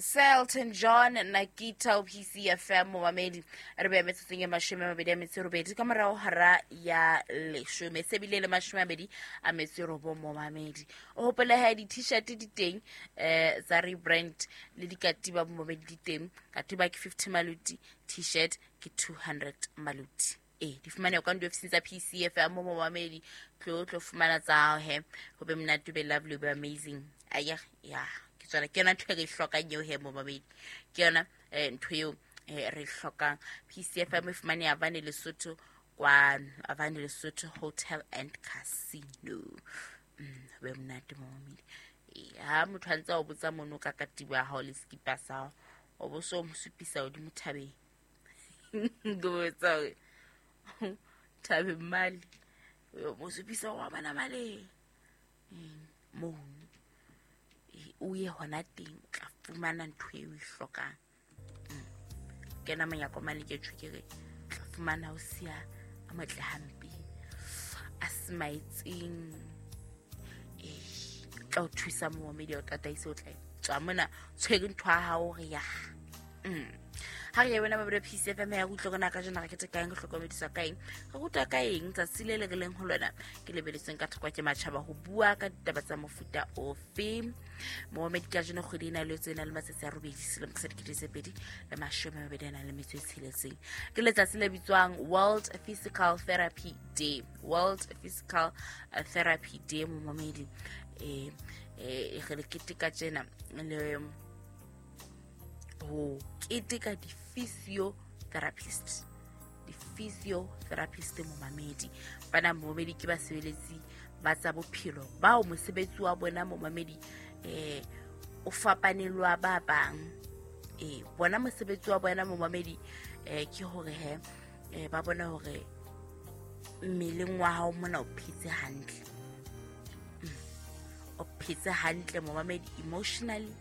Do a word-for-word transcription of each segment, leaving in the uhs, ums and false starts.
Selton John Nakita P C F M momamedi re be metsotsong e mashome a mabedi a metso e robedi ka morao hara ya leshome se bile le mashome a mabedi a metso e robong momamedi. O hopole ha di-t-shirt di teng eh tsa rebrand le dikatiba momamedi di teng. Katiba ke fifty maluti, t-shirt ke two hundred maluti. Eh di fumaneha kwa diofising tsa P C F M momamedi, tlo tlo fumana tsa hao he ho be monate, be lovely, be amazing. Aya ya ke tsona ke yona ntho e re e hlokang eo he momamedi, ke yona eh ntho eo eh re e hlokang. P C F M e fumaneha Avane Lesotho kwano, Avane Lesotho Hotel and Casino. Mm, ho be monate momamedi. Eh ha motho a ntse a o botsa mono ka katiba ya hao le sekipa sa hao, o bo so mo supisa hodimo thabeng. Ke botsa hore thabeng male, o mo supisa wa bana male. Mm, mono o ye hona teng o tla fumana ntho eo o e hlokang. Mm. Kena monyako mane ke tjho ke re tla fumana o siya a motle hampe, a smaetseng. Eh, tla o thusa momamedi, o tataise, o tla tswa mona tshwere ntho ya hao re ya. Mm. Ha re ya wena mabedi P C F M ya utlwa rona ka jena re kete kaeng, re hlokomediswa ka eng, re ruta ka eng tsatsi le le re leng ho lona ke lebeletsweng ka thoko ke matjhaba ho bua ka ditaba tsa mofuta ofe. Momamedi ka jeno kgwedi ena le tsena le matsatsi a robedi selemo sa dikete tse pedi le mashome a mabedi a nang le metso e tsheletseng. Ke letsatsi le bitswang World Physical Therapy Day. World Physical Therapy Day momamedi. Eh, eh, re le keteka tjena le ho keteka di-physiotherapist. Di-physiotherapist momamedi. Bana momamedi ke basebeletsi ba tsa bophelo bao mosebetsi wa bona momamedi eh o fapanelwa ba bang. Eh bona mosebetsi wa bona momamedi eh ke hore he eh ba bona hore mmeleng wa hao mona o phetse hantle. Mm. O phetse hantle momamedi emotionally,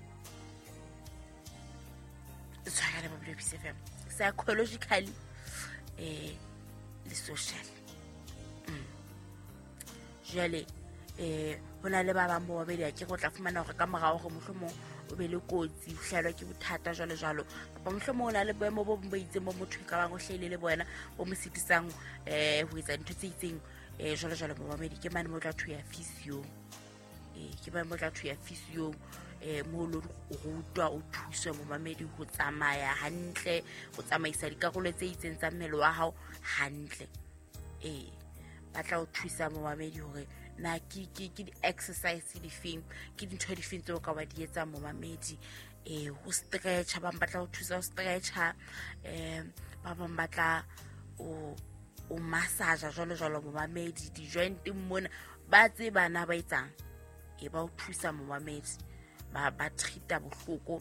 tshwara ba B C F M psychologically eh le social. Mm. Jwale eh hona le ba bang bo babedi ke go tla fumana hore ka morao hore mohlomong o be le kotsi, o hlahelwa ke bothata jwalo jwalo, kapa mohlomong o na le boemo bo bong bo itseng bo motho e ka bang o hlahile le bona bo mo sitisang eh ho etsa dintho tse itseng eh jwalo jwalo momamedi. Ke mane mo tla thuya physio, eh ke mane mo tla thuya physio eh mo lo rutwa o thuswe momamedi ho tsamaya hantle, ho tsamaisa dikarolo tse itseng tsa mmele wa hao hantle. Eh ba tla o thusa momamedi hore na ke ke ke di-exercise difeng, ke dintho difeng tseo ka wa di etsang momamedi. Eh ho stretcha, ba bang ba tla o thusa ho stretcha, eh ba bang ba tla o o massage jwalo jwalo momamedi, di-joint mona ba tseba na ba etsang. E ba o thusa momamedi, ba ba treata bohloko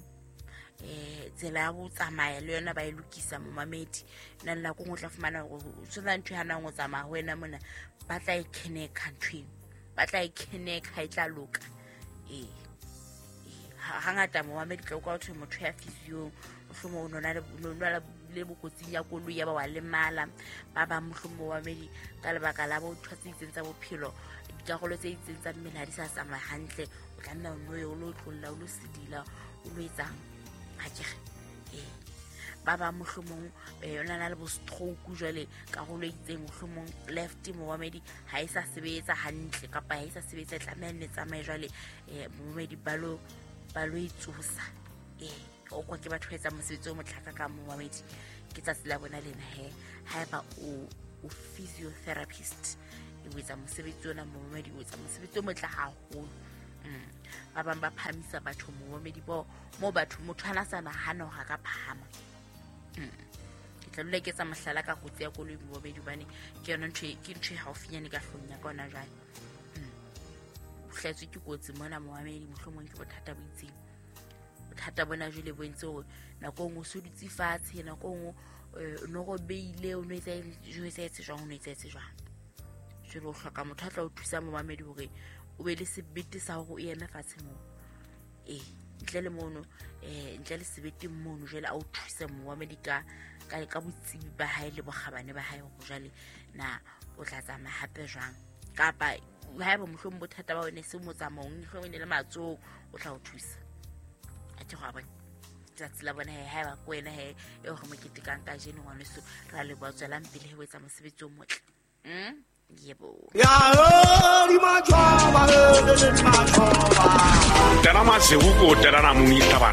eh tsela ya ho tsamaya le yona ba e lokisa momamedi. Nna nako nngwe o tla fumana hore o tshwana ntho e hanang ho tsamaya ho wena mona, ba tla e kheneka ntho eo, ba tla e kheneka e tla loka. Eh hangata momamedi tla utlwa ho thwe motho ya physio mohlomong o nona le nona le bokotsing ya koloi ya ba wa lemala. Ba bang mohlomong momamedi ka lebaka la bo ntho tse itseng tsa bophelo, dikarolo tse itseng tsa mmele ha di sa tsamaya hantle, o tla nna o no ye o lo tlolla, o lo sedila, o lo etsang ha ke re. Eh ba bang mohlomong eh o na le bo stroke jwale karolo e itseng mohlomong left momamedi ha e sa sebetsa hantle kapa ha e sa sebetsa, e tlameha nne tsamaye jwale eh momamedi ba lo ba lo itsosa. Eh o kwa ke batho ba etsang mosebetsi o motle ka momamedi. Ke tsatsi la bona lena he haeba o o physiotherapist o etsa mosebetsi ona momamedi, o etsa mosebetsi o motle haholo. Mm. Ba bang ba phahamisa batho momamedi bo mo batho motho ana sa nahana hore a ka phahama. Mm. Ke tla dula ke etsa mohlala ka kotsi ya koloi momamedi hobane ke yona ntho e, ke ntho e haufinyane ka hlong ya ka hona jwale. Mm. O hlahetswe ke kotsi mona momamedi, mohlomong ke bothata bo itseng. Bothata bona jwale bo entse hore nako e nngwe o so dutse fatshe, nako e nngwe o no robeile, o no etsa o etsa jwang, o no etsa jwang. Jwale o hloka motho a tla o thusa momamedi hore o be le sebete sa hore o eme fatshe moo. Eh ntle le mono, eh ntle le sebete mono jwale a o thuse momamedi ka ka ka botsebi ba hae le bokgabane ba hae hore jwale na o tla tsamaya hape jwang, kapa haeba mohlomong bothata ba wena se motsamaong, mohlomong e ne le matsoho, o tla o thusa. A ke go a bona. Tsatsi la bona he ha ba ko wena he e re mo ketekang kajeno ngwaneso ra leboha tswelang pele he o etsa mosebetsi o motle. Mm? Yebo. Tena masewu ko tena na muni tabana.